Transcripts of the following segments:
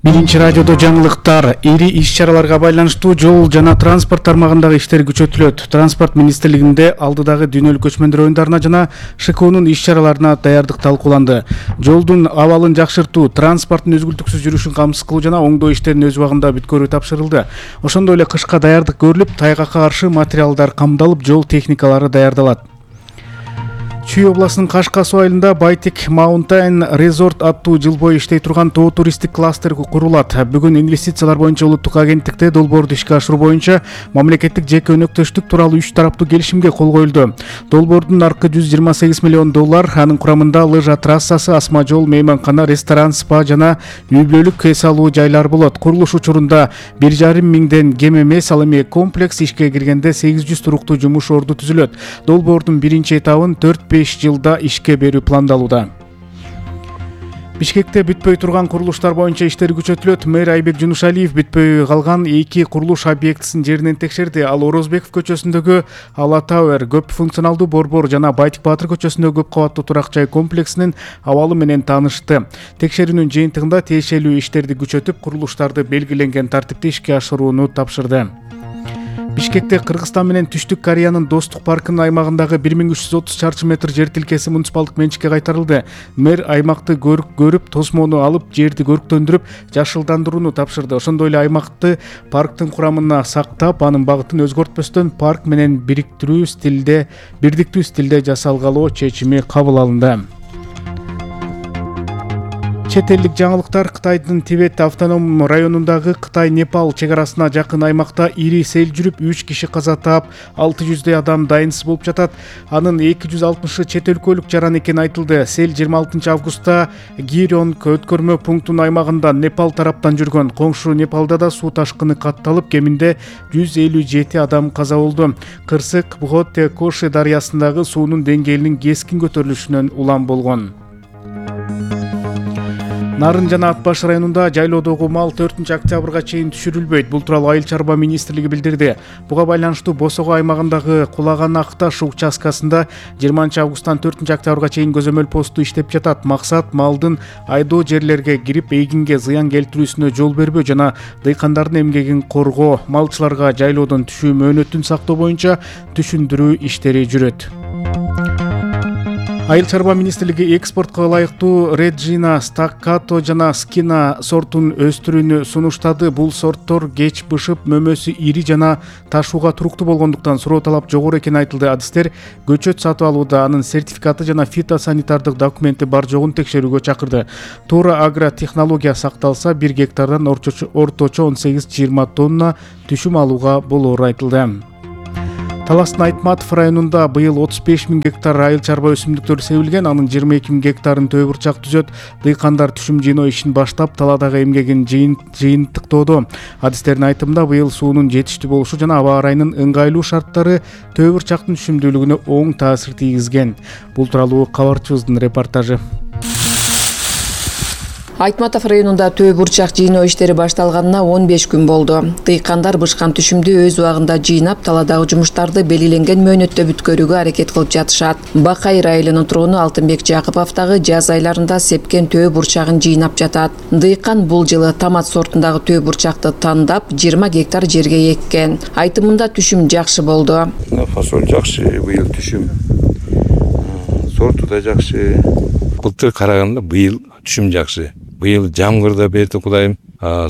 Биринчи радиодо жаңылыктар. Ири иш-чараларга байланыштуу жол жана транспорт тармагындагы иштер күчөтүлөт. Транспорт министрлигинде алдыдагы дүйнөлүк көчмөндөр оюндарына жана ШКОнун иш-чараларына даярдык талкууланды. Жолдун абалын жакшыртуу, транспорттун өзгүлтүксүз жүрүшүн камсыз кылуу жана оңдоо иштерин өз убагында бүткөрүү тапшырылды. Ошондой эле кышка даярдык көрүлүп, тайгакка каршы материалдар камдалып, жол техникалары даярдалат. Чүй областынын Кашка суу айылында Байтек Маунтайн Резорт аттуу жыл бою иштей турган тоо туристтик кластер курулат. Бүгүн инвестициялар боюнча улуттук агенттикте долбоорду ишке ашыруу боюнча мамлекеттик жеке өнөктөштүк тууралуу 3 тараптуу келишимге кол коюлду. Долбоордун наркы $128 миллион, анын курамында лыжа трассасы, асма жол, мейманкана, ресторан, спа жана үй-бүлөлүк эс алуу жайлар болот. Курулуш учурунда 1,5 миңден кем эмес, ал эми комплекс ишке киргенде 800 туруктуу жумуш орду түзүлөт. Долбоордун биринчи этабын 4-5 жылда ишке берүү пландалууда. Бишкекте бүтпөй турган курулуштар боюнча иштер күчөтүлөт. Мэр Айбек Жунушалиев бүтпөй калган 2 курулуш объектисин жеринен текшерди. Ал Орозбеков көчөсүндөгү Ала Тауэр көп функционалдуу борбор жана Байтик Баатыр көчөсүндөгү көп кабаттуу турак жай комплексинин абалы менен таанышты. Текшерүүнүн жыйынтыгында тиешелүү иштерди күчөтүп, курулуштарды белгиленген тартипте ишке ашырууну тапшырды. Бишкекте Кыргызстан менен Түштүк Кореянын достук паркынын аймагындагы 1330 чарчы метр жер тилкеси муниципалдык менчикке кайтарылды. Мэр аймакты көрүп, тосмону алып, жерди көрктөндүрүп, жашылдандырууну тапшырды. Ошондой эле аймакты парктын курамына сактап, анын багытын өзгөртпөстөн парк менен бирдиктүү стилде жасалгалоо чечими кабыл алынды. Чет элдик жаңылыктар. Кытайдын Тибет автоном районундагы Кытай-Непал чек арасына жакын аймакта ири сел жүрүп, 3 киши каза таап, 600 адам дайынсыз болуп жатат. Анын 260 чет өлкөлүк жаран экени айтылды. Сел 26 августта Гирёнг өткөрмө пунктунун аймагында Непал тараптан жүргөн. Коңшу Непалда да суу ташкыны катталып, кеминде 157 адам каза болду. Кырсык Бхотте Коши дарыясындагы суунун деңгээлинин кескин көтөрүлүшүнөн улам болгон. Нарын жана Ат баш районунда жайлоодогу мал 4 октябрга чейин түшүрүлбөйт. Бул тууралуу Айыл чарба министрлиги билдирди. Буга байланыштуу Босого аймагындагы Кулаган Акташ участкасында 20 августтан 4 октябрга чейин көзөмөл посту иштеп жатат. Максат малдын айдоо жерлерге кирип, эгинге зыян келтирүүсүнө жол бербөө жана дыйкандардын эмгегин коргоо, малчыларга жайлоодон түшүү мөөнөтүн сактоо боюнча түшүндүрүү иштери жүрөт. Айыл чарба министрлиги экспортко ылайыктуу Реджина, Стаккато жана Скина сортун өстүрүүнү сунуштады. Бул сорттор кеч бышып, мөмөсү ири жана ташууга туруктуу болгондуктан суроо талап жогору экени айтылды. Адистер көчөт сатып алууда анын сертификаты жана фитосанитардык документи бар жогун текшерүүгө чакырды. Туура агротехнология сакталса, 1 гектардан орточо 18-20 тонна түшүм алууга болоору айтылды. Таластын Айтматов районунда быйыл 35 000 гектар айыл чарба өсүмдүктөр себилген, анын 22 000 гектарын төө бурчак түзөт. Дыйкандар түшүм жыйноо ишин баштап, таладагы эмгегин жыйынтыктоодо. Адистердин айтымында быйыл суунун жетиштүү болушу жана аба ырайынын ыңгайлуу шарттары төө бурчактын түшүмдүүлүгүнө оң таасир тийгизген. Бул тууралуу кабарчыбыздын репортажы. Айтматов районунда төө бурчак жыйноо иштери башталганына 15 күн болду. Дыйкандар бышкан түшүмдү өз убагында жыйнап, таладагы жумуштарды белгиленген мөөнөттө бүткөрүүгө аракет кылып жатышат. Бакайыр айылынын тургуну Алтынбек Жакыповдагы жаз айларында сепкен төө бурчагын жыйнап жатат. Дыйкан бул жылы томат сортундагы төө бурчакты тандап, 20 гектар жерге эккен. Айтымында түшүм жакшы болду. Фасоль жакшы, быйыл түшүм. Сорту да жакшы. Былтыр караганда быйыл түшүм жакшы. Быйыл жамгыр да берди Кудайым,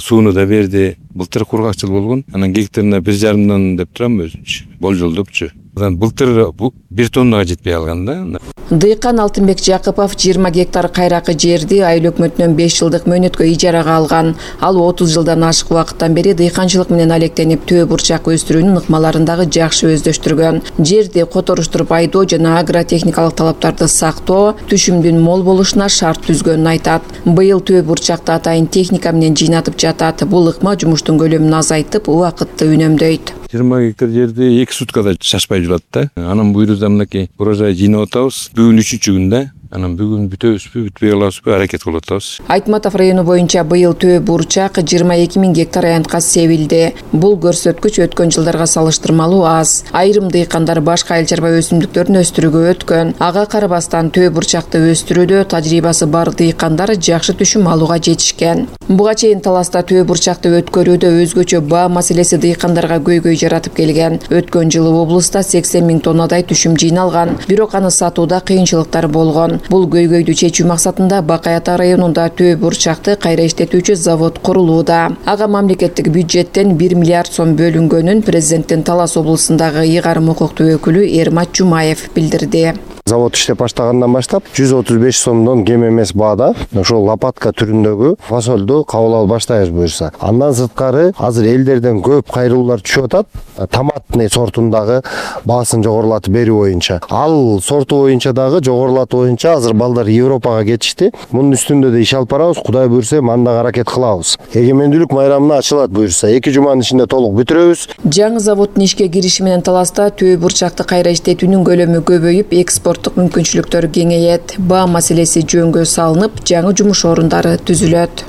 сууну да берди. Былтыр кургакчыл болгон. Анан гектарына 1,5 деп турам өзүнчө. Болжолдопчу. Былтыр 1 тоннага жетпей калган да. Дыйкан Алтынбек Жакыпов 20 гектар кайракы жерди айыл өкмөтүнөн 5 жылдык мөөнөткө ижарага алган. Ал 30 жылдан ашык убакыттан бери дыйканчылык менен алектенип, төө бурчак өстүрүүнүн ыкмаларындагы жакшы өздөштүргөн. Жерди которуштуруп айдоо жана агротехникалык талаптарды сактоо, түшүмдүн мол болушуна шарт түзгөнүн айтат. Быйыл төө бурчакты атайын техника менен жыйнатып жатат. Бул ыкма жумуштун көлөмүн азайтып, убакытты үнөмдөйт. 20 гектар жерди 2 суткада шашпай жүрөт да. Анын буйрузда мынакей урожай жыйнап атабыз. Бүгүн 3-күндө Анан бүгүн бүтөбүзбү, бүтпөй калабызбы, аракет кылып атабыз. Айтматов району боюнча быйыл төө бурчак 22 000 гектар аянтка себилди. Бул көрсөткүч өткөн жылдарга салыштырмалуу аз. Айрым дыйкандар башка айыл чарба өсүмдүктөрүн өстүрүүгө өткөн. Ага карабастан төө бурчакты өстүрүүдө тажрыйбасы бар дыйкандар жакшы түшүм алууга жетишкен. Буга чейин таласта төө бурчакты өткөрүүдө өзгөчө баа маселеси дыйкандарга көйгөй жаратып келген. Өткөн жылы облуста 80 000 тоннадай түшүм жыйналган, бирок аны сатууда кыйынчылыктар болгон. Бул көйгөйдү чечүү максатында Бакай Ата районунда төө бурчакты кайра иштетүүчү завод курулууда. Ага мамлекеттик бюджеттен 1 миллиард сом бөлүнгөнүн президенттин Талас облусундагы ыйгарым укуктуу өкүлү Эрмат Жумаев билдирди. Завод иштеп баштагандан баштап 135 сомдон кем эмес баада ошол лопатка түрүндөгү фасолду кабыл алып баштайбыз буюрса. Андан сырткары азыр элдерден көп кайрылуулар түшүп атат. Томатный сортундагы баасын жогорулатып берүү боюнча. Ал сорту боюнча дагы жогорулатуу боюнча азыр балдар Европага кетишти. Мунун үстүндө да иш алып барабыз. Кудай буйрса, мында аракет кылабыз. Эгемендүүлүк майрамына ачылат буюрса, 2 жуманын ичинде толук бүтүрөбүз. Жаңы заводдун ишке кириши менен Таласта төө бурчакты кайра иштетүүнүн көлөмү көбөйүп, экспорттук мүмкүнчүлүктөр кеңейет. Баа маселеси жөнгө салынып, жаңы жумуш орундары түзүлөт.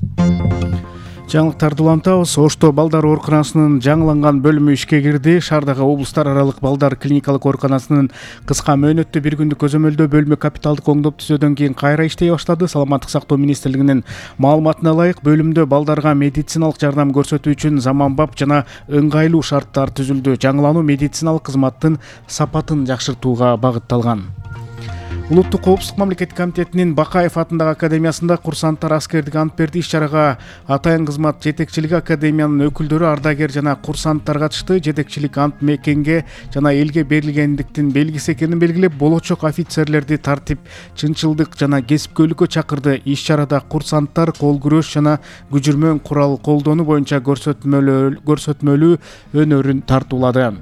Жаңылыктарды улантабыз. Ошто балдар ооруканасынын жаңыланган бөлүмү ишке кирди. Шаардагы облустар аралык балдар клиникалык ооруканасынын кыска мөөнөттө 1 күндүк көзөмөлдөө бөлүмү капиталдык оңдоп түзөөдөн кийин кайра иштей баштады. Саламаттык сактоо министрлигинин маалыматына ылайык, бөлүмдө балдарга медициналык жардам көрсөтүү үчүн заманбап жана ыңгайлуу шарттар түзүлдү. Жаңылануу медициналык кызматтын сапатын жакшыртууга багытталган. Улуттук коопсуздук мамлекеттик комитетинин Бакаев атындагы академиясында курсанттар аскердик ант берди. Иш-чарага атайын кызмат жетекчилиги, академиянын өкүлдөрү, ардагер жана курсанттар катышты. Жетекчилик ант мекенге жана элге берилгендиктин белгиси экенин белгилеп, болочок офицерлерди тартип, чынчылдык жана кесипкөйлүккө чакырды. Иш-чарада курсанттар кол күрөш жана күжүрмөн курал колдонуу боюнча көрсөтмөлүү өнөрүн тартуулады.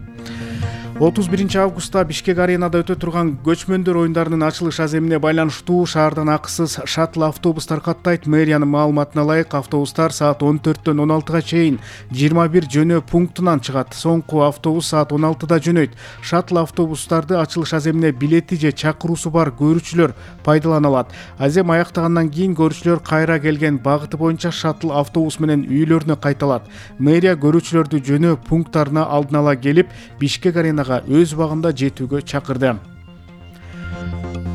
31 августта Бишкек аренада өтө турган көчмөндөр оюндарынын ачылыш аземине байланыштуу шаардан акысыз шаттл автобустар каттайт. Мэриянын маалыматына ылайык, автобустар саат 14-төн 16-га чейин 21 жөнөө пунктунан чыгат. Соңку автобус саат 16-да жөнөйт. Шаттл автобустарды ачылыш аземине билети же чакыруусу бар көрүүчүлөр пайдалана алат. Азем аяктагандан кийин көрүүчүлөр кайра келген багыты боюнча шаттл автобус менен үйлөрүнө кайталат. Мэрия көрүүчүлөрдү жөнөө пункттарына алдын ала келип, Бишкек арена өз убагында жетүүгө чакырды.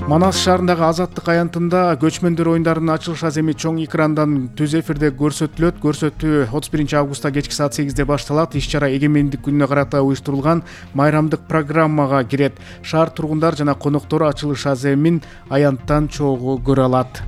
Манас шаарындагы Азаттык аянтында көчмөндөр оюндарынын ачылыш аземи чоң экрандан түз эфирде көрсөтүлөт. Көрсөтүү 31 августта кечки саат 8-де башталат. Иш-чара эгемендик күнүнө карата уюштурулган майрамдык программага кирет. Шаар тургундар жана коноктору ачылыш аземин аянттан чогуу көрө алат.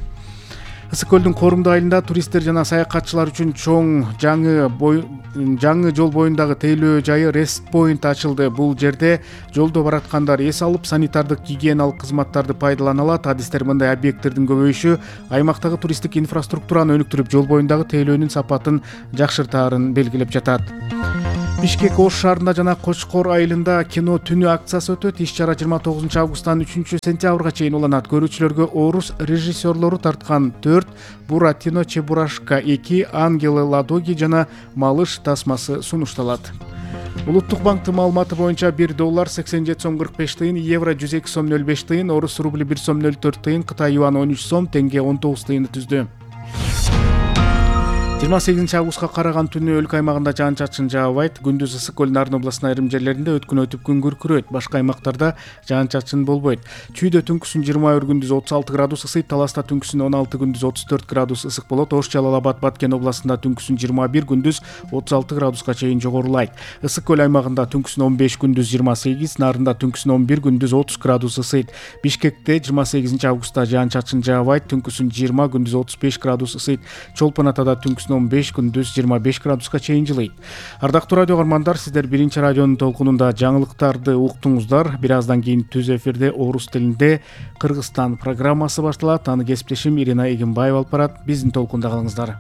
Ысык көлдүн Корумду айылында туристтер жана саякатчылар үчүн чоң жаңы жол боюндагы тейлөө жайы Rest Point ачылды. Бул жерде жолдо бараткандар эс алып, санитардык гигиеналык кызматтарды пайдалана алат. Адистер мындай объекттердин көбөйүшү аймактагы туристтик инфраструктураны өнүктүрүп, жол боюндагы тейлөөнүн сапатын жакшыртаарын белгилеп жатат. Бишкек Ош шаарында жана Кочкор айылында кино түнү акциясы өтөт. Иш-чара 29 августтан 3 сентябрга чейин уланат. Көрүүчүлөргө орус режиссерлору тарткан 4 Буратино Чебурашка, 2 Ангелы Ладоги жана Малыш тасмасы сунушталат. Улуттук банктын маалыматы боюнча $1 87 сом 45 тыйын, евро 102 сом 05 тыйын, орус рубли 1 сом 04 тыйын, Кытай юаны 13 сом, тенге 19 тыйынды түздү. 28 августка караган түнү өлкө аймагында жаан-чачын жаабайт. Күндүз ысык көл Нарын областынын айрым жерлеринде өткүн өтүп күн күркүрөйт. Башка аймактарда жаан-чачын болбойт. Чүйдө түнкүсүн 21 күндүз 36 градус ысыйт. Таласта түнкүсүн 16 күндүз 34 градус ысык болот. Ош, Жалал-Абад, Баткен областында түнкүсүн 21 күндүз 36 градуска чейин жогорулайт. Ысык көл аймагында түнкүсүн 15 күндүз 28, Нарында түнкүсүн 11 күндүз 30 градус ысыйт. Бишкекте 28 августта жаан-чачын жаабайт. Түнкүсүн 20 күндүз 35 градус ысыйт. Чолпон Атада түнкүсүн 15 күндүз 25 градуска чейин жылыйт. Ардактуу радио көрөрмандар, сиздер биринчи радионун толкунунда жаңылыктарды уктуңуздар. Бир аздан кийин түз эфирде орус тилинде Кыргызстан программасы башталат. Аны кесиптешим Ирина Эгембаева алып барат. Биздин толкунда калыңыздар.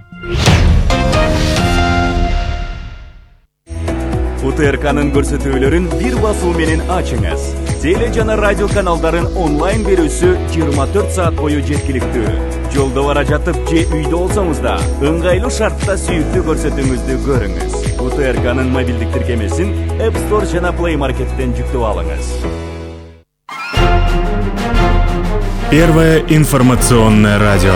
УТРКнын көрсөтүүлөрүн бир басуу менен ачыңыз. Теле жана радио каналдарын онлайн берүүсү 24 саат бою жеткиликтүү. Жолдо бара жатып же үйдө болсоңуз да, ыңгайлуу шартта сүйүктүү көрсөтүүңүздү көрүңүз. УТРКнын мобилдик тиркемесин App Store жана Play Market'тен жүктөп алыңыз. Первое информационное радио.